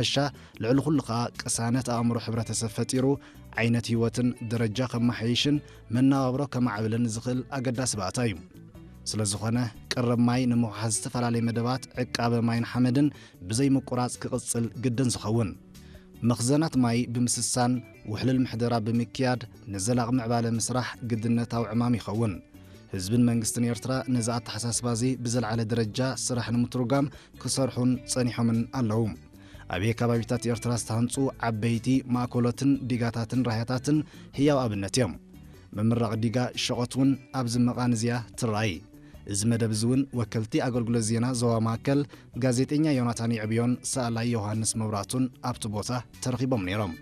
ብሓፈሻ፣ ልዕሊ ኩሉ ከኣ ቅሳነት ኣእምሮ ሕብረተሰብ ፈጢሩ ዓይነት ህይወትን ደረጃ ከመሓይሽን መነባብሮ ከማዕብልን ዝኽእል ኣገዳሲ ባእታ እዩ። ስለ ዝኾነ፣ ቀረብ ማይ ንምውሓዝ ዝተፈላለየ መደባት ዕቃበ ማይን ሓመድን ብዘይ ምቁራጽ ክቕጽል ግድን ዝኸውን። መኽዘናት ማይ ብምስሳን ውሕልል ምሕደራ ብምክያድ ንዘላቒ ምዕባለ ምስራሕ ግድነታዊ ዕማም ይኸውን። ህዝብን መንግስትን ኤርትራ ነዚ ኣተሓሳስባ እዚ ብዘለዓለ ደረጃ ስራሕ ንምትርጓም ክሰርሑን ጸኒሖምን ኣለዉ። ኣብ ከባቢታት ኤርትራ ዝተሃንጹ ዓበይቲ ማእኮሎትን ዲጋታትን ራህያታትን ህያው ኣብነት እዮም። ምምራቕ ዲጋ ሸቖት እውን ኣብዚ መቓን እዚኣ ትረኣይ። እዚ መደብ እዚ እውን ወከልቲ ኣገልግሎት ዜና ዞባ ማእከል ጋዜጠኛ ዮናታን የዕብዮን ሰኣላይ ዮሃንስ መብራቱን ኣብቲ ቦታ ተረኺቦም ነይሮም።